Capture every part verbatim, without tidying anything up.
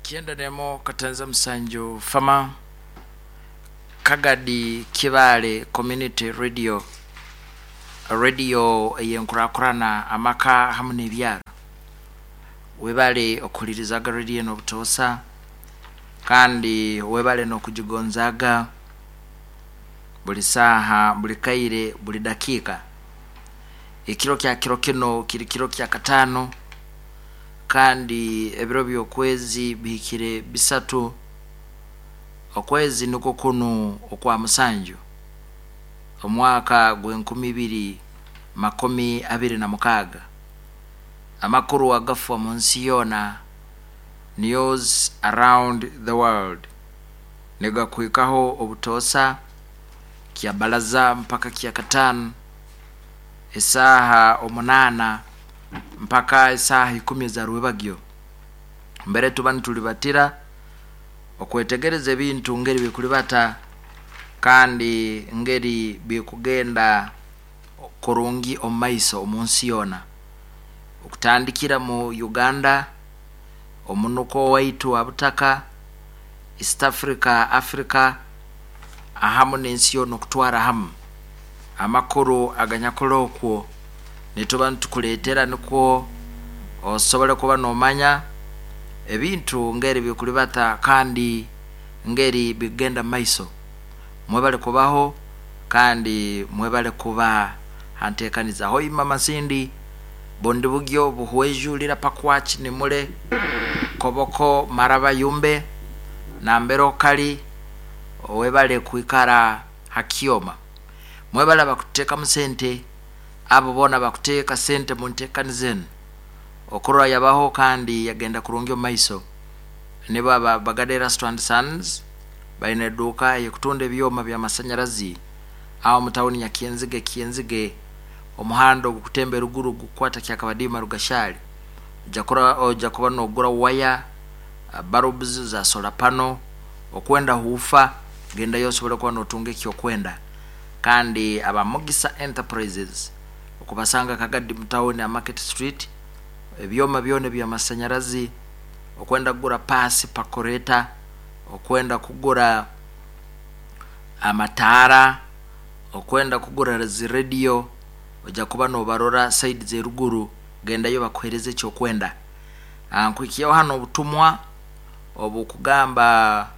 Kyenda nemo katanza musanju fama Kagadi Kibaale Community Radio, radio eyenkurakurana amaka hamu n'ebyaro. Webale okuhulirizaga radio eno obutoosa, kandi webale n'okugigonzaaga buli saaha, buli kaire, buli dakiika. Ekiro kya kiro kino kiri kiro kya kataano, kandi ebiro by'okwezi bihikire bisatu, okwezi nikwo kunu okwa musanju, omwaka gw'enkumi ibiri makumi abiri na mukaaga. Amakuru agafa mu nsi yoona, news around the world, nigakuhikaho obutoosa kya balaza mpaka kya kataano, esaaha omunaana mpaka esaaha ikumi eza rwebagyo. Mbere tuba nitulibatira okwetegereza ebintu ngeri bikulibata kandi ngeri bikugenda kurungi omu maiso omu nsi yoona, okutandikira mu Uganda, omunuko waitu wa butaka, East Africa, Africa ahamu n'ensi yoona okutwara hamu. Amakuru aganyakura okwo nituba nitukuleetera nikwo osobole kuba noomanya ebintu ngeri bikulibata kandi ngeri bikugenda mu maiso. Mwebale kubaho kandi mwebale kuba hanteekaniza. Hoima Masindi, Bundibugyo, Buhwejulira, Pakwach, Nimule, Koboko, Maraba, Yumbe, Nambero Kali, webale kwikara hakyoma. Mwebale abakuteekamu sente, abo boona bakuteeka sente mu nteekaniza enu okurora yabaho kandi yagenda kurungi omu maiso. Nibo aba Bagada Erasto and Sons, baine eduuka ey'okutunda ebyoma by'amasanyarazi aho mu tawuni ya Kyenzige. Kyenzige omuhanda ogukutemba eruguru gukukwata Kyakabadiima Rugashali, ojja kuba nogura waya, bulbs za solar panel, okwenda huufa, gendayo osobole kuba notunga ekyokwenda. Kandi aba Mugisa Enterprises okubasanga Kagadi mu tawuni ya Market Street, ebyoma byona eby'amasanyarazi, okwenda kugura paasi pakoreta, okwenda kugura amataara, okwenda kugura zi rediyo, ojja kuba nobarora side z'eruguru, gendayo bakuheereze ekyokwenda. Nkuhikyaho hanu obutumwa obukugamba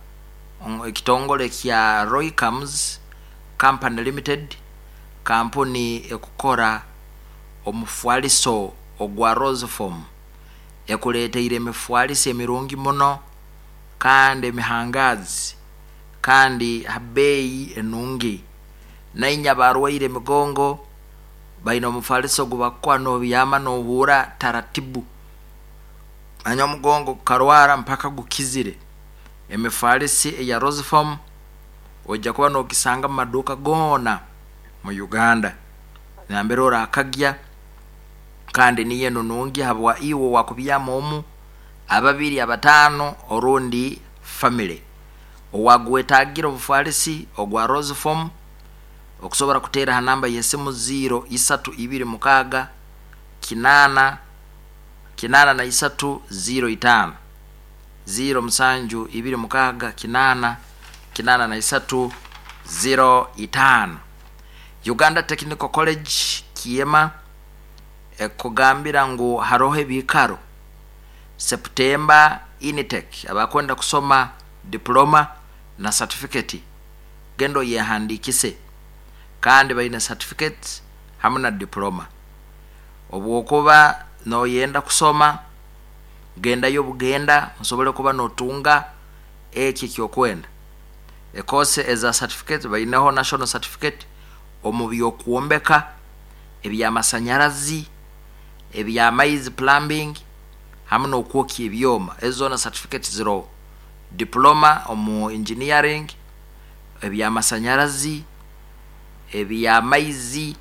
ekitongole kya Roycams Company Limited, kampuni ekukora omufwaliso ogwa Roseform, ekuleeteire emifwaliso emirungi muno kandi emihangaazi kandi ha bbeeyi enungi. Nainye abarwaire emigongo baine omufaliso ogu bakukuha nobyama nohuura taratibu, manya omugongo gukarwara mpaka gukizire. Emifalisi eya Roseform ojja kuba nogisanga mu maduuka goona mu Uganda, nambere orakagya, kandi niyo enu nungi habwa iwe owakubyama omu, ababiri, abataano orundi family. Owagwetaagire obufalisi ogwa Roseform okusobora kuteera ha namba y'esimu ziro isatu ibiri mukaaga kinaana kinaana na isatu ziro itaano, ziro musanju ibiri mukaaga kinaana kinaana na isatu ziro itaano. Uganda Technical College Kiema ekugambira ngu haroho ebiikaro September intake, abakwenda kusoma diploma na certificate, genda oyehandiikise, kandi baine certificates hamu na diploma. Obwokuba noyenda kusoma, gendayo bugenda osobole kuba notunga eki ekyokwenda. Ekoose eza certificate baineho national certificate omu by'okwombeka, eby'amasanyarazi, eby'amaizi plumbing, hamu n'okwokya ebyoma, ezo zoona certificate ziroho. Diploma omu engineering, eby'amasanyarazi, eby'amaizi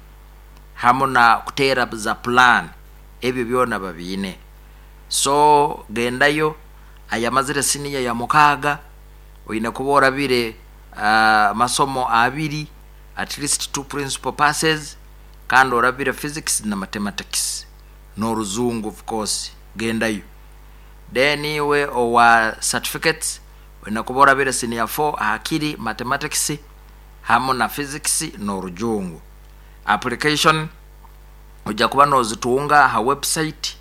hamu na kuteera za plan, ebyo byona babiine. So gendayo, ayamazire siniya ya mukaaga, oine kuba orabire amasomo abiri, at least two principal passes, kandi orabire physics na mathematics n'oruzungu of course, gendayo. Then iwe owa certificates olina kuba orabire senior four hakiri mathematics hamu na physics n'orujungu. Application ojja kuba nozitunga ha website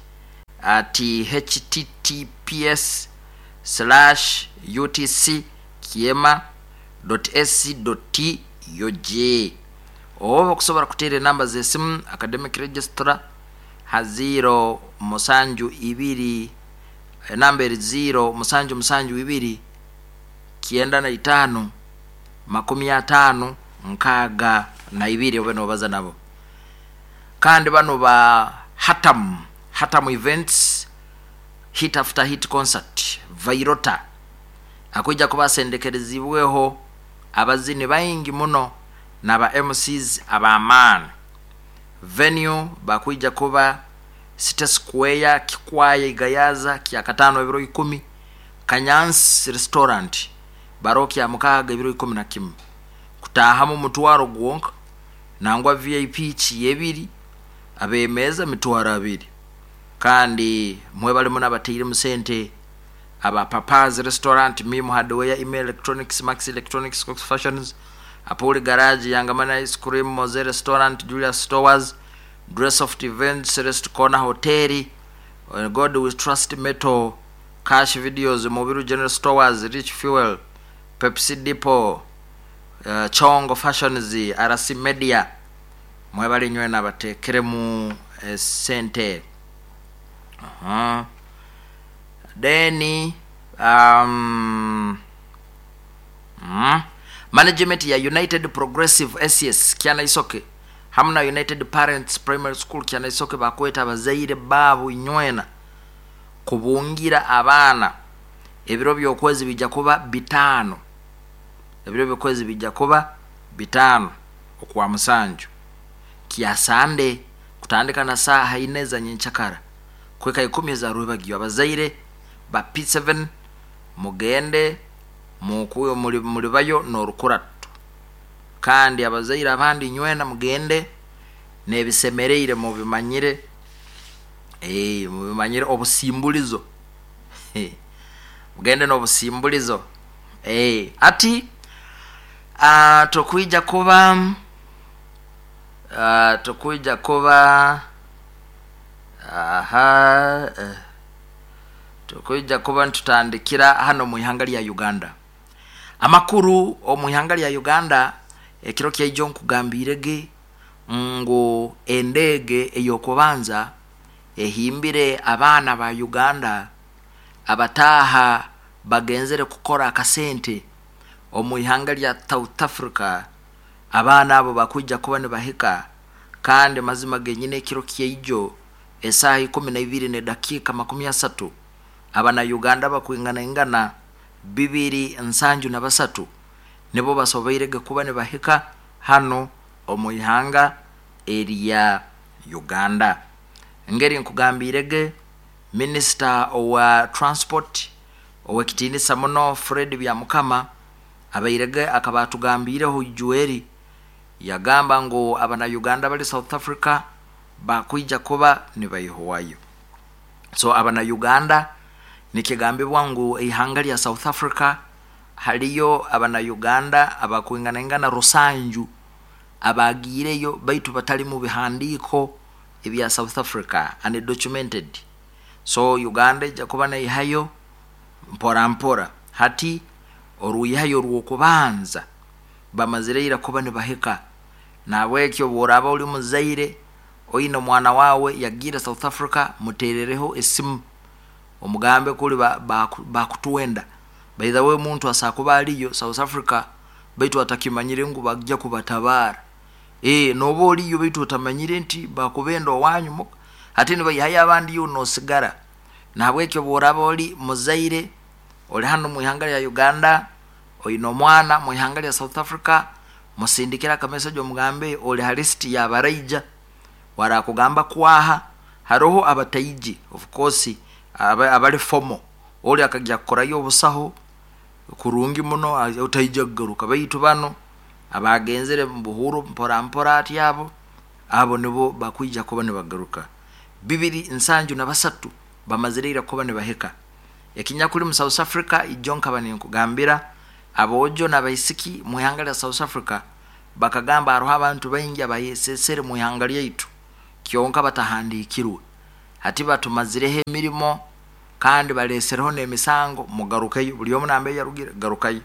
at H T T P S slash U T C kiema ac ug, oba okusobola kuteera enamba z'esimu academic registrar ha zero musanju ibiri, enamba eri zero musanju musanju ibiri kyenda na itaano makumi ataano nkaaga na ibiri, obe nobaza nabo. Kandi bano ba Hatam Hatam Events, Hit After Hit Concert Vairota akwija kuba asendekerezibweho abazini baingi muno naba M Cs ab'amaani. Venue bakwija kuba City Square, Kikwaya, Igayaza, kyakataano ebiro ikumi. Kanyansi Restaurant baro kya mukaaga ebiro ikumi na kimu. Kutahamu mutwaro gwonka, nangwa V I P kiyebiri, abemeza mitwaro abiri. Kandi mwebalimu n'abateiremu sente aba Papas Restaurant, Mim Hardware, Email Electronics, Max Electronics, Cox Fashions, Apoli Garage, Yangamana Ice Cream, Moze Restaurant, Julius Stores, Dressoft Events, Rest Corner Hotel, God We Trust Metal, Cash Videos, Mobiru General Stores, Rich Fuel, Pepsi Depot, uh, Chongo Fashions, R C Media. Mwebale nywe nabatekeremu eh, sente. uh -huh. Then um, mm, management ya United Progressive S S Kyanaisoke hamu na United Parents Primary School Kyanaisoke bakweta abazaire baabo inywena kubungira abaana. Ebiro by'okwezi bijja kuba bitaano, ebiro by'okwezi bijja kuba bitaano okwa musanju, kya Sande, kutandika na saaha ine za nyenchakara kweka ikumi za rwebagyo. Abazaire ba P seven mugende mukuyo muli mulibayo n'orukuratu, kandi abazaire abandi nywena mugende n'ebisemereire mubimanyire, eh mubimanyire obusimbulizo, mugende n'obusimbulizo. eh ati uh, tukwija kuba uh, tukwija kuba aha uh, tukwija kuba ntutandikira hano mu ihanga lya Uganda. Amakuru omu ihanga lya Uganda ekiro kyaijo nkugambirege ngu endege eyokubanza ehimbire abaana ba Uganda abataaha bagenzere kukora akasente omu ihanga lya South Africa. Abaana abo bakwija kuba nibahika, kandi mazima genyine ekiro kyaijo esaaha ikumi na ibiri nedakiika makumi asatu abana Uganda bakwinganaingana bibiri nsanju na basatu nibo basoboirege kuba nibahika hano omu ihanga erya Uganda. Ngeri nkugambirege, minisita owa transport owekitiinisa muno Fred Byamukama abairege akaba atugambiireho ijueri, yagamba ngu abana Uganda bali South Africa bakwija kuba nibaihwayo. So abana Uganda nikigambibwa ngu ihanga lya South Africa haliyo abana Uganda abakwinganaingana rusanju abagiireyo baitu batali mu bihandiiko ebya South Africa, undocumented. So Uganda ejja kuba naihayo mpora mpora. Hati oruihayo rw'okubanza bamazire ira kuba nibahika. Nabwekyo bworaba oli muzaire oine omwana wawe yagiire South Africa, muterereho esimu omugambe kuli bakutwenda ba, by the way, omuntu asakuba aliyo South Africa baitu atakimanyire ngu bajja kubatabara. eh noba oliyo baitu otamanyire nti bakubenda owanyu, ate nibayihayo abandi yo nosigara. Nahabwekyo bworaba oli muzaire oli hano mu ihanga lya Uganda oine omwana mu ihanga lya South Africa, musindikira akameseji omugambe oli ha list yabaraija. Warakugamba kwaha haroho abataiji, of course abali fomo oli akajya kukorayo obusaho kurungi muno otaija kugaruka, baitu bano abagenzere mu buhuru mpora mpora ati abo abo nibo bakwija kuba nibagaruka. Bibiri nsanju na basatu bamazire ira kuba nibahika. Ekinyakuli mu South Africa, ijo nkaba ninkugambira aboojo n'abaisiki mu ihanga lya South Africa bakagamba hariho abantu baingi abayesesere mu ihanga lyaitu kyonka batahandiikirwe, hati batumazireho emirimo kandi balesereho n'emisango, mugarukeyo buli omu nambe yarugire garukayo.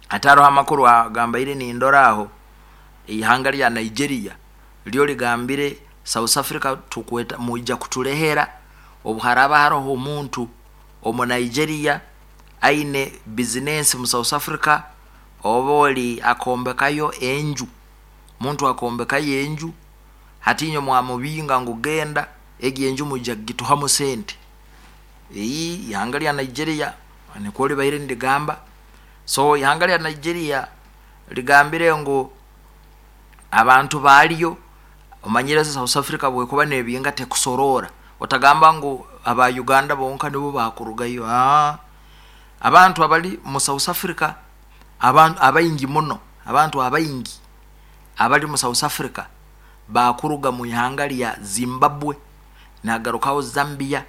Hati hariho amakuru agambaire nindora aho ihanga lya Nigeria lyo ligambire South Africa tukweta mwija kutulehera obu haraba haroho omuntu omu Nigeria aine bizinesi mu South Africa, oba oli akombekayo enju, muntu akombekayo enju, hati inywe mwamubinga ngu genda egi enju mwija kugituhamu sente. Iyi ihanga lya Nigeria nikwo libaire nirigamba. So ihanga lya Nigeria ligambire ngu abantu balyo, omanyire South Africa bwekuba nebinga tekusorora, otagamba ngu aba Uganda bonka nibo bakurugayo. Aa, abantu abali mu South Africa abantu abaingi muno, abantu abaingi abali mu South Africa bakuruga mu ihanga lya Zimbabwe, nagarukaho Zambia,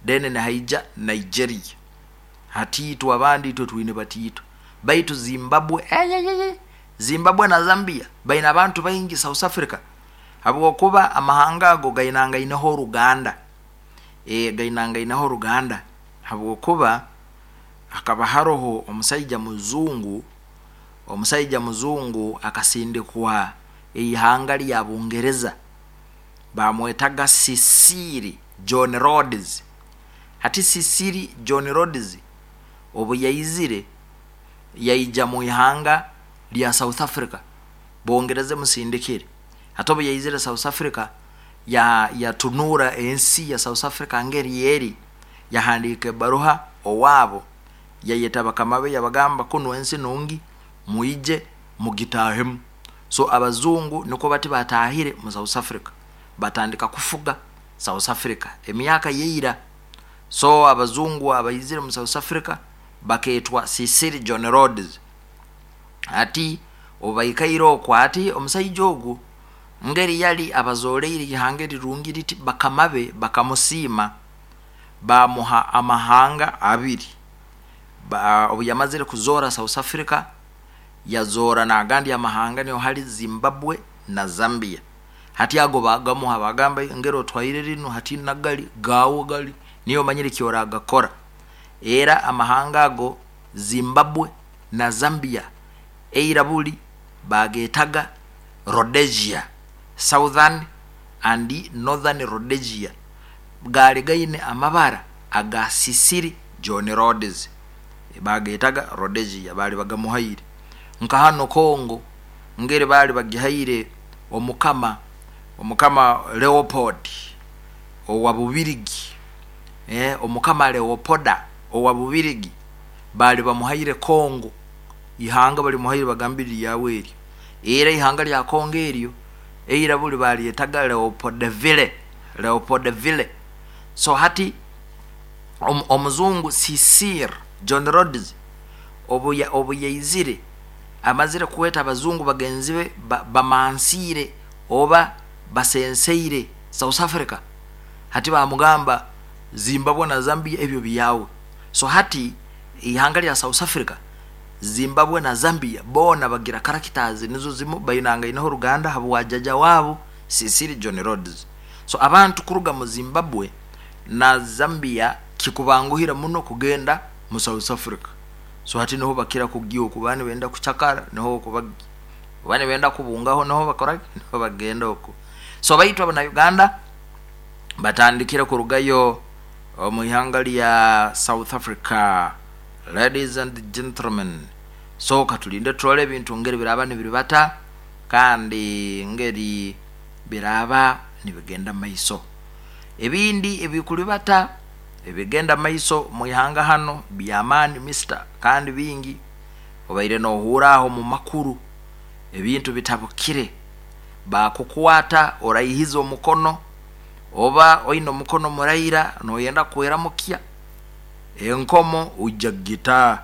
then nihaija Nigeria. Hati itwe abandi itwe twine batiito, baitu Zimbabwe eyeyeye, Zimbabwe na Zambia baine abantu baingi South Africa, habwokuba amahanga ago gainangaineho oruganda, e, gainangaineho oruganda habwokuba hakaba haroho omusaija muzungu, omusaija muzungu akasindikwa eihanga lya Bungereza, bamwetaga Cecil John Rhodes. Hati Cecil John Rhodes obu yaizire yaija mu ihanga lya South Africa, Bungereza emusindikire. Hati obu yaizire South Africa ya yatunura ensi ya South Africa ngeri eri, yahandiika ebaruha owaabo, yayeta bakama be yabagamba kunu ensi nungi mwije mugitahemu. So abazungu nikwo bati batahire mu South Africa, batandika kufuga South Africa emyaka yeira. So abazungu abaizire mu South Africa baketwa Cecil John Rhodes. Hati obu baikaire okwo, ati omusaija ogu ngeri yali abazoleire ihanga erirungi riti, bakama be bakamusiima bamuha amahanga abiri. Ba, obu yamazire kuzoora South Africa, yazoora n'agandi amahanga niho hali Zimbabwe na Zambia. Hati ago bagamuha, bagamba ngeri otwaire rinu hati nagali gaawe gali niyo omanyire kyoragakora. Era amahanga ago Zimbabwe na Zambia eira buli bagetaga Rhodesia, Southern and Northern Rhodesia, gaali gaine amabara aga Cecil John Rhodes, bagetaga Rhodesia, bali bagamuhaire. Nka hano Congo ngeri bali bagihaire omukama omukama Leopold owa Bubirigi, eh, omukama Leopolda owa Bubirigi bali bamuhaire Congo, ihanga balimuhaire bagambire lyawe eryo. Era ihanga lya Congo eryo eira buli balyetaga Leopoldville, Leopoldville. So hati om, omuzungu Cecil John Rhodes obu obu yaizire amazire kweta abazungu bagenzi be ba, bamansiire oba basenseire South Africa, hati bamugamba Zimbabwe na Zambia ebyo byawe. So hati ihanga lya South Africa, Zimbabwe na Zambia boona bagira characters nizo zimu, bainangaineho oruganda habwa jaja waabo Cecil John Rhodes. So abantu kuruga mu Zimbabwe na Zambia kikubanguhira muno kugenda mu South Africa. So hati niho bakira kugiya oku, bani benda kucakara niho okubagiya, bani benda kubungaho niho bakora niho bagenda oku. So baitu abana Uganda batandikire kurugayo omu ihanga lya South Africa, ladies and gentlemen. So katulinde turole ebintu ngeri biraba nibiribata kandi ngeri biraba nibigenda maiso. Ebindi ebikulibata ebigenda maiso mu ihanga hano byamaani mister, kandi bingi obaire nohura aho mu makuru ebintu bitabukire, bakukwata oraihiza omukono oba oine omukono muraira noyenda kweramukya enkomo ujja gita.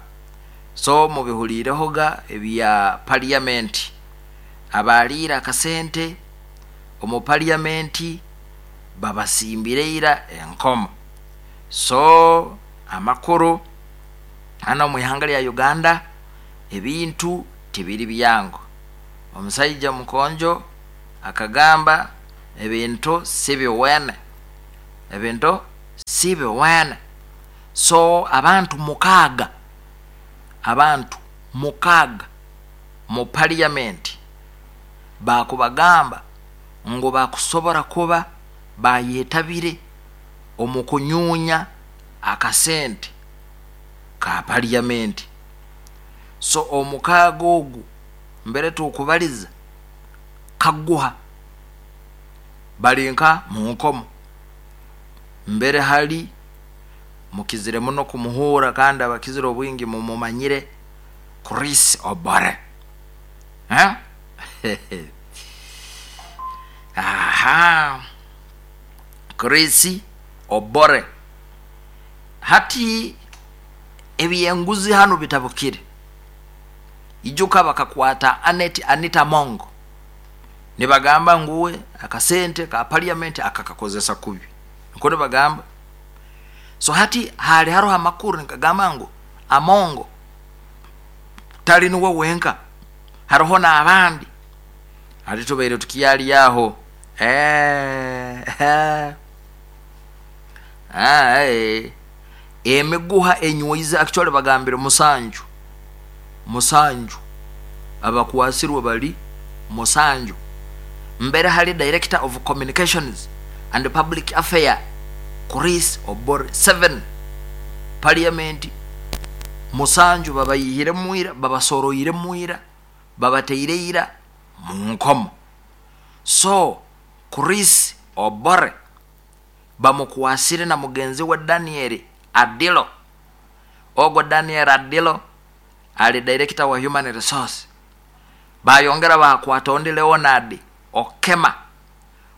So mubihulirehoga ebya parliament, abaliire akasente omu parliament babasimbire ira enkomo. So Amakuru hano mu ihanga lya Uganda ebintu tibiri byangu. Omusaija mukonjo akagamba ebintu si biwene, ebintu si biwene. So abantu mukaaga, abantu mukaaga mu parliament bakubagamba ngu bakusobora kuba bayetabire omu kunyunya akasente ka parliament. So omukaaga ogu mbere tukubaliza kaguha balinka mu nkomo mbere hali mukizire muno kumuhura, kandi abakizire obwingi mumumanyire Chris Obore. Eh? Aha, Chris Obore. Hati ebyenguzi hano bitabukire. Ijuka bakakwata Anet Anita Mongo nibagamba nguwe akasente ka parliament akakakozesa kubi, niko nibagamba. So hati hali hariho amakuru nikagamba ngu Amongo tali niwe wenka, hariho n'abandi. Hati tubaire tukyali aho. Eh, eh. Ah, eh. Emiguha enywize actually bagambire musanju, musanju abakwasirwe bali musanju. Mbere hali director of communications and public affair Chris Obore seven parliament musanju babayihire mwira, babasoroire mwira, babateire ira mu nkomo. So Chris Obore bamukwasire na mugenzi wa Daniel Adilo. Ogwo Daniel Adilo ali director wa human resource. Bayongera bakwata ondi Leonard Okema,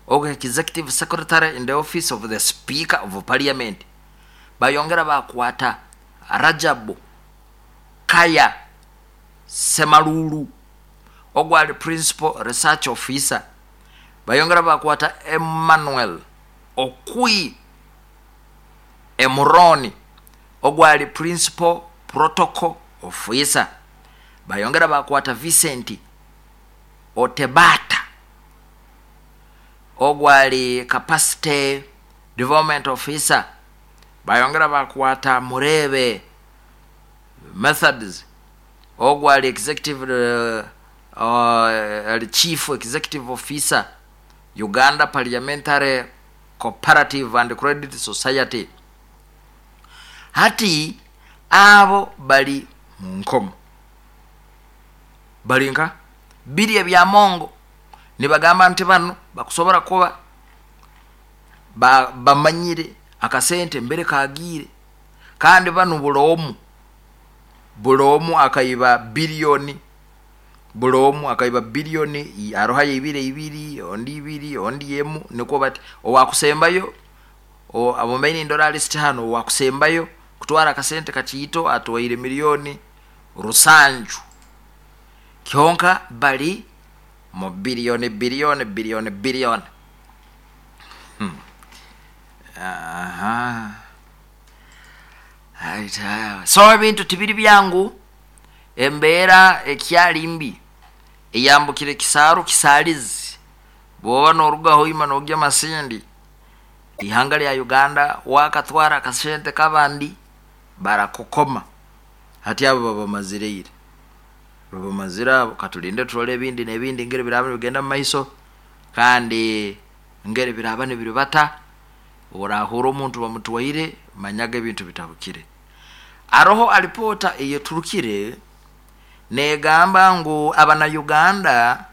ogwo executive secretary in the office of the speaker of parliament. Bayongera bakwata Rajabu Kaya Semalulu, ogwo ali principal research officer. Bayongera bakwata Emmanuel Okui Emuroni, ogwo ali principal protocol officer. Bayongera bakwata Vincent Otebata, ogwo ali capacity development officer. Bayongera bakwata Murebe Methods, ogwo ali executive uh, uh, ali chief executive officer Uganda Parliamentary Cooperative and Credit Society. Hati abo bali mu nkomo, balinka biri ebya Mongo nibagamba nti bano bakusobora kuba ba, bamanyire akasente mbere kagiire, kandi bano bulomu bulomu akaiba bilioni, bulomu akaiba bilioni aroha ibiri ibiri ondi ibiri ondi emu, niko bati owakusembayo amumaini ndora list hano owakusembayo kutwara akasente kachiito atwaire milioni rusanju. Kyonka bali mu bilioni bilioni bilioni bilioni. Hmm. Aha. Aita. So ebintu tibiri byangu, embeera ekyali mbi eyambukire kisaaru kisalizi. Bwoba norugaho ima nogya Masindi, ihanga lya Uganda wakatwara akasente kabandi barakukoma. Hati abo babamazireire, babamazira abo. Katulinde turole ebindi n'ebindi ngeri biraba nibigenda mu maiso, kandi ngeri biraba nibiribata. Orahura omuntu bamutwaire manyaga ebintu bitabukire. Aroho alipota eyeturukire negamba ngu abana Uganda,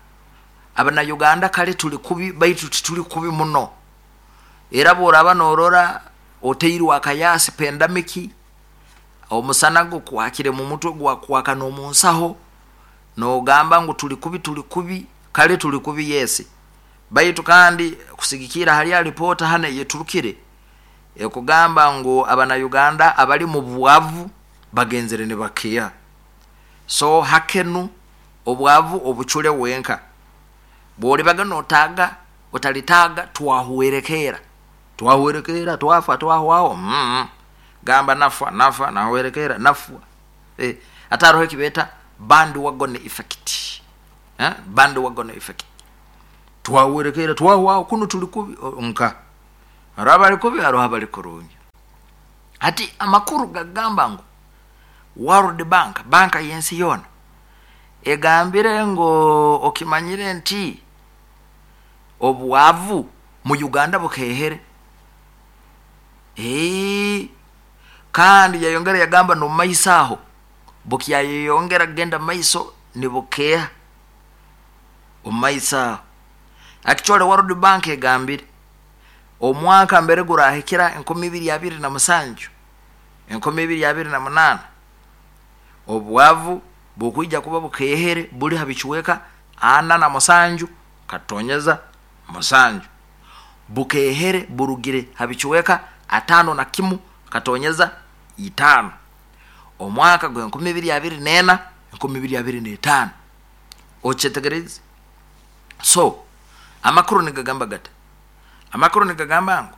abana Uganda kale tuli kubi, baitu tituli kubi muno. Era bworaba norora oteirwe akayasi pandemic, omusana gukwakire mu mutwe gwakwaka n'omunsaho, nogamba ngu tuli kubi, tuli kubi, kale tuli kubi yesi. Baitu kandi kusigikira hali alipota hana yeturukire ekugamba ngu abana Uganda abali mu bwavu bagenzere ne bakiya. So hakenu obwavu obuchule wenka bwolibaga notaga otalitaga twahuwerekera, twahuwerekera twafa twahwao. Mm. Gamba nafa nafa nawerekera nafwa. Eh, ataroho ekibeta bandwagon effect. Eh, bandwagon effect. Twawerekera twahwaho kunu tuli kubi nka hariho abali kubi, hariho abali kurungi. Hati amakuru gagamba ngu World Bank, banka y'ensi yoona, egambire ngu okimanyire nti obwavu mu Uganda bukehere. Ee, kandi yayongera yagamba no maiso aho bukyayeyongera kugenda maiso nibukeha omu maiso aho. Actually World Bank egambire omwaka mbere gurahikira enkumi ibiri abiri na musanju, enkumi ibiri abiri na munaana, obwavu bukwija kuba bukehere buli ha bichweka ana na musanju katonyeza musanju, bukehere burugire ha bichweka atano na kimu katonyeza itano omwaka gwe enkumi ibiri abiri nena, enkumi ibiri abiri n'etaano. Okyetegereze. So amakuru nigagamba gata? Amakuru nigagamba ngu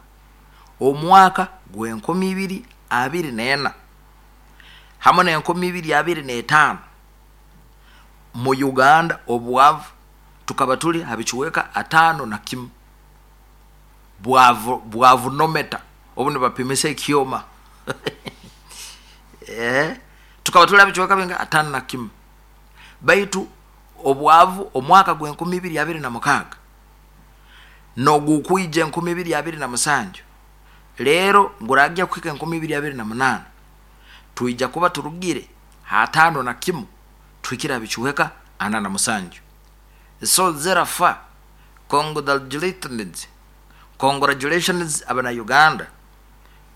omwaka gw'enkumi ibiri abiri n'ena hamwe n'enkumi ibiri abiri n'etaano mu Uganda obwavu tukaba tuli ha bichweka atano na kimu. Bwavu, bwavunometa obu nibapimisa ekyoma. Eh, tukaba tuli ha bichweka binga atano na kimu. Baitu obwavu omwaka gw'enkumi ibiri abiri na mukaaga nogukwija enkumi ibiri abiri na musanju, rero nguragya kuhika enkumi ibiri abiri na munaana, twija kuba turugire hatano na kimu tuhikire bichweka ana na musanju. So therefore congratulations, congratulations abana Uganda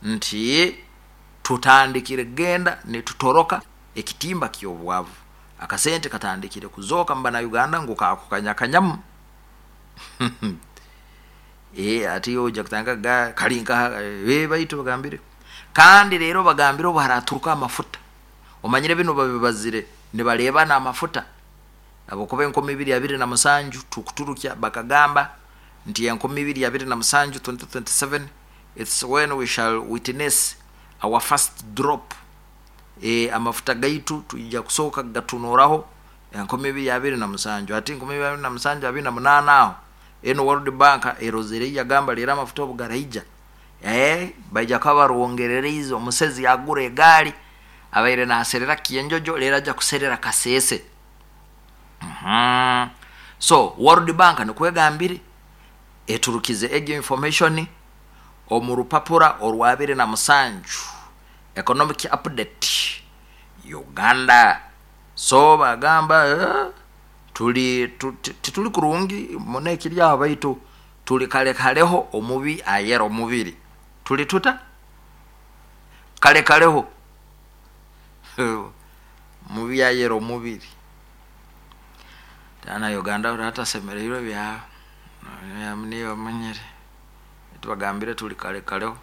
nti tutandikire genda nitutoroka ekitimba ky'obwavu. Akasente katandikire kuzoka mbana Uganda ngu kakukanyakanyamu. Eh, ati oja kutanga ga kalinka eh baitu bagambire. Kandi rero bagambire obu haraturuka amafuta. Omanyire bino babibazire nibareba na amafuta. Abo kuba enkumi ibiri abiri na musanju tukuturukya bakagamba nti enkumi ibiri abiri na musanju twenty twenty-seven it's when we shall witness our first drop. E, amafuta gaitu tuija kusoka gatunoraho enkumi ibiri abiri na musanju. Ati enkumi ibiri abiri na musanju abiri na munaana aho eno World Bank erozere yagamba rero amafuta obugaraija eh baija kabarongerereize omusezi yagura egali abaire naserera kienjojo rero aja kuserera kasese. Mm-hmm. So World Bank nikwegambire eturukize egyo information omu rupapura orwabire na musanju economic update Uganda. So bagamba eh, tuli tituli kurungi mune ekiri aho baitu tuli kale kaleho omubi ayera omubiri tuli tuta kale kaleho mubi ayera omubiri. Tana Uganda ratasemereirwe bya niyo manyere tubagambire tuli kale kaleho.